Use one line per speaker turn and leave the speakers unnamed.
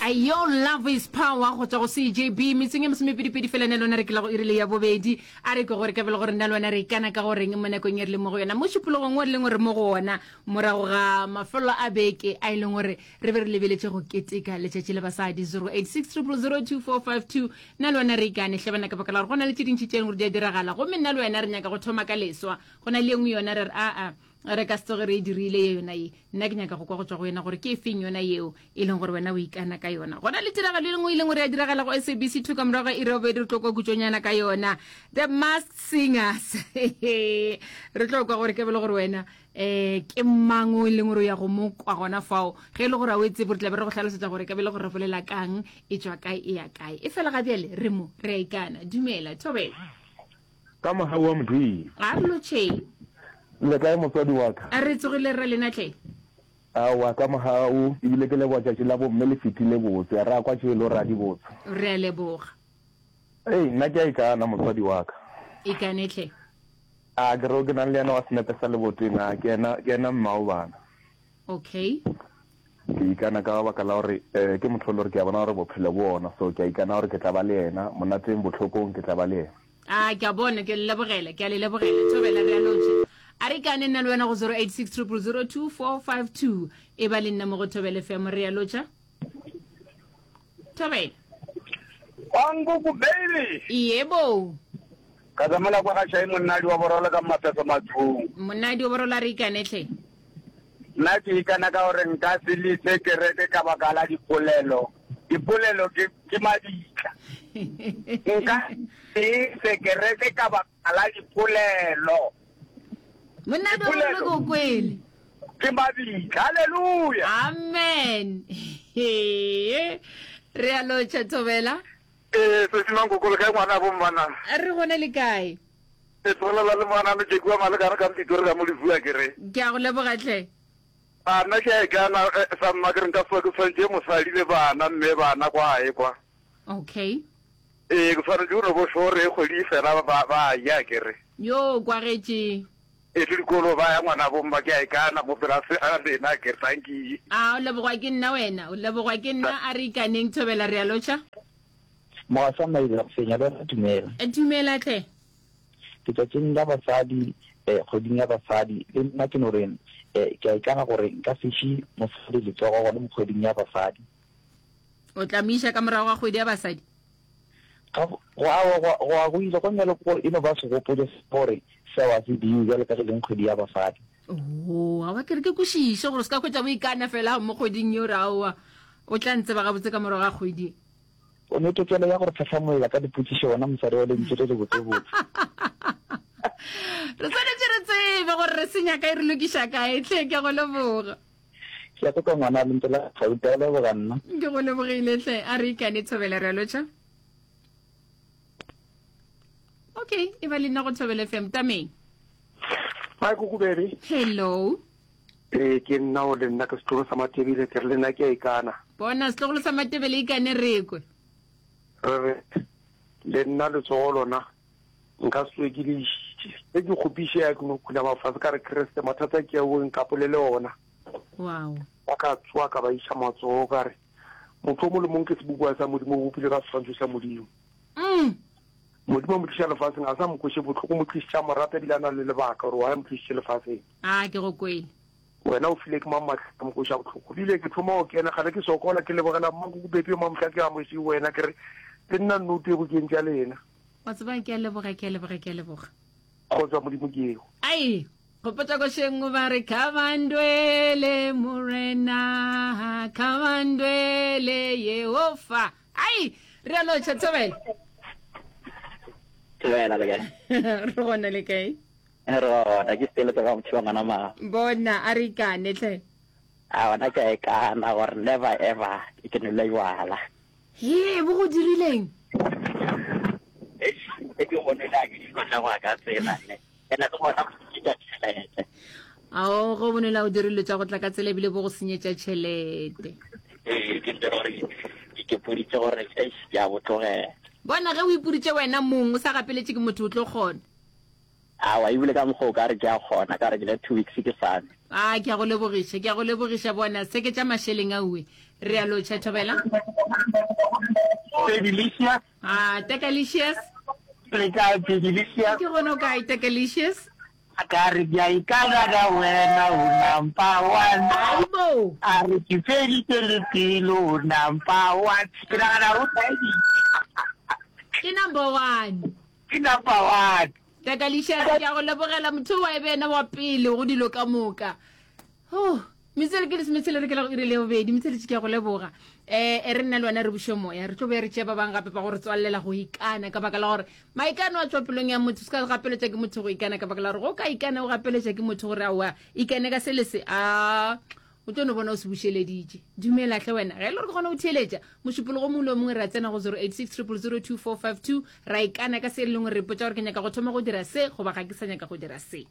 Ayo love is power go tšwa go CJB metseng e masomepedipedi fela nna le wena re ke la go irile ya bobedi a re kwe gore ka bele gore nna le wena re ikana ka goreng mo nakong e re leng mo go yona mo šupologong o re leng gore mo go ona morago ga mafelo a beke a e leng gore re be re lebeletše go keteka letšatši la basadi 086 0002452 nna le wena re ikane hle bana ka baka la gore go na le tše dintši tše leng gore di a diragala gomme nna le wena re nyaka go thoma ka leswa go na le e nngwe yona re re aa Re ka se tsoge re e dirile ye yona ye. Nna ke nyaka go kwa go tšwa go wena gore ke efeng yona yeo e leng gore wena o ikana ka yona. Gona le tiragalo e lengwe e leng gore ya diragala go SABC 2 ka morago ga iri ya bobedi re tlo kwa kutšonyana ka yona. The Masked Singers. Re tlo kwa gore ke bele gore wena eh ke mang o e leng gore o ya go mo kwa gona fao. Ge e le gore a o e tsebe re tla be re go hlalosetša gore ka bele gore re bolela kang, e tšwa kae, e ya kae. E fela ga bjale re mo re a ikana. Dumela, Thobela.
Ka mogau wa Modimo.
A re lotšheng.
Le kae motswadi wa ka?
A re tsogile rra lena tle.
Aowa ka mogau, ebile ke leboga tšatši la bomme le fetile botse. Ra kwa tšelo ra di botse.
Re a leboga.
Ei, nna ke a ikana motswadi wa ka.
Ikane tle.
A ke re o ke nang le yena wa senepe sa leboteng, a ke yena, ke yena mmao bana.
Okay.
Ke ikana ka baka la gore eh, ke motho e le gore ke a bona gore bophelo bo ona, so ke a ikana gore ke tla ba le yena, monateng, bohlokong, ke tla ba le yena.
A ke a bona, ke a le lebogela, ke a le lebogela. Thobela, re a lotšha. A re ikane nna le wena go 086 000 2452. E ba le nna mo go Thobela FM, re a lotšha. Thobela.
Kwankuku baby.
Yebo.
Ka tsamela kwa ga Shai monnadi wa borolo ka mafeso mathung.
Monnadi wa borolo a re ikane hle.
Nna ke ikana ka gore nka se lese kereke ka baka la dipolelo. Dipolelo ke, ke mabitla. Nka se lese kereke ka baka la dipolelo.
Monna do
Dipolelo.
ke o kwele.
Ke mabitla. Haleluya!
Amen. Re a lotšha Thobela.
Ee, Sesi Mankoko, le kae ngwana bo mmana?
Re gona le kae?
E tlogelela le ngwana me Jeki wa Malekane ka Mpitori ka mo Lefua ke re.
Ke a go leboga hle.
A nna ke a ikana sa mma ke re nka se ke tshwanetse mosadi le bana mme bana kwa gae kwa.
Okay.
Ee ke tshwanetse go no bo sure kgwedi e fela ba ba ya ke re.
Yo kwagetše.
E le dikolo ba ya ngwana bo mma ke a ikana mo pela se a lena ke re tanki.
A o lebogwa ke nna wena o lebogwa ke nna a re ikaneng thobela re a lotšha.
Mogaša Maila go fenya le wena dumela.
Dumela hle.
Letšatšing la basadi, eh, kgweding ya basadi, le nna ke no re, eh, ke a ikana gore nka se iše mosadi letsogo gona mo kgweding ya basadi.
O tla mo iša ka morago ga kgwedi ya basadi?
Ga go, aowa, go, go a go ile, go bjalo ke gore e no ba segopotšo sa gore seo a se dirwe bjalo ka ge e leng kgwedi ya basadi.
Oo, aowa, ke re ke kwešiše gore o se ka hwetša o ikana fela mo kgweding yeo, re aowa, o tla ntseba gabotse ka morago ga kgwedi.
O ne tokelo ya go re tlhahlamolla ka dipotšišo wena mosadi wa lentšu le lebotsebotse.
Re swanetše re tsebe gore re senya kae re lokiša kae hle ke a go leboga.
Ke a kwa ngwana lentšu la gauta o leboga nna.
Ke go lebogile hle a re ikane Thobela re a lotšha. Okay, e ba le nna go Thobela FM tameng.
Hi Kuku baby.
Hello.
Ee, ke nna o le nna ke setlogolo sa Matebele, ke re le nna ke a ikana.
Bona, setlogolo sa Matebele ikane re kwe.
Re re, le nna letsogo lona nka se tsoge ke le išitše. Ge ke kgopišega ke no khunama fase ka re, Kriste, mathata ke ao nkapolele ona.
Wow.
Ba ka tsoga ka ba iša matsogo ka re, Motho o mong le mong ke sebopiwa sa Modimo, o bopilwe ka seswantšho sa Modimo.
Mm.
Modimo a mo tliša lefaseng, a sa mo kweše bohloko, o mo tlišitše a mo rata ebile a na le lebaka gore why a mo tlišitše lefaseng.
A ke go kwele.
Wena o file ke mang maatla a mo kweša bohloko? Bile ke thoma go kena, gale ke sokola, ke lebogela Mmankoko Bepi yo mamohla ke amogetše wena, ke re le nna nnoto e bokeng tša lena.
Wa tseba ke a leboga, ke a leboga, ke a leboga.
Kgotso ya Modimo ke eo.
Ai, gopotša košeng ba re khabandwele morena, khabandwele Yehofa. Ai, re a lotšha Thobela.
Thobela le kae?
Re gona le kae?
Re gona, ke Stella tsa ga motho wa ngwana ma.
Bona, a re ikane hle.
A gona ke a ikana gore never ever ke nwele jwala.
He, bo go dirileng?
Eish, e ke go nwele a ke dilo tša go ya ka tsela ne. Ene le gona go senyetša tšhelete.
Ao, ge o bonwele a o dire dilo tša go tla ka tsela ebile bo go senyetša tšhelete.
Ee, ke nto gore ke kepoditše gore eish ke a bo tlogela.
Bona, ge o ipoditše wena mong o sa gapeletše ke motho o tlo kgona.
Aowa, ebile ka mokgwa o ka re ke a kgona, ka re ke le 2 weeks ke sa nwe.
A ke a go lebogiša, ke a go lebogiša bona se ke tša mašeleng a uwe. Re a lotšha Thobela.
Delicious.
Ah, Tekalicious.
Le kae Delicious?
Ke gona o kae Tekalicious?
Ka re ke a ikana ka wena o number one.
Aibo.
A re ke feditše le pelo o number one. Ke nagana o taeditše.
Ke number one.
Ke number one.
Tekalicious ke a go lebogela motho wa e be ena wa pele go dilo ka moka. Oh. Metswele ke lesometshela re ke la go iri le bobedi metsweletše ke ya go leboga um e re nna le wena re buše moya re tlo be re tšea ba bangwe gape ba go re tswalelela go ikana ka baka la gore maikano a tšwa pelong ya motho se ka gapeletša ke motho go ikana ka baka la gore go ka ikana o gapeletša ke motho gore aowa ikane ka se le se a o tlo no bona o se bušeleditše dumela hle wena ge e le gore ke kgona go theeletša mošupologo mongwe le o mongwe re a tsena go 086 000 2452 ra ikana ka se e leng gore re ipotša gore ke nyaka go thoma go dira se goba ga ke sa nyaka go dira se.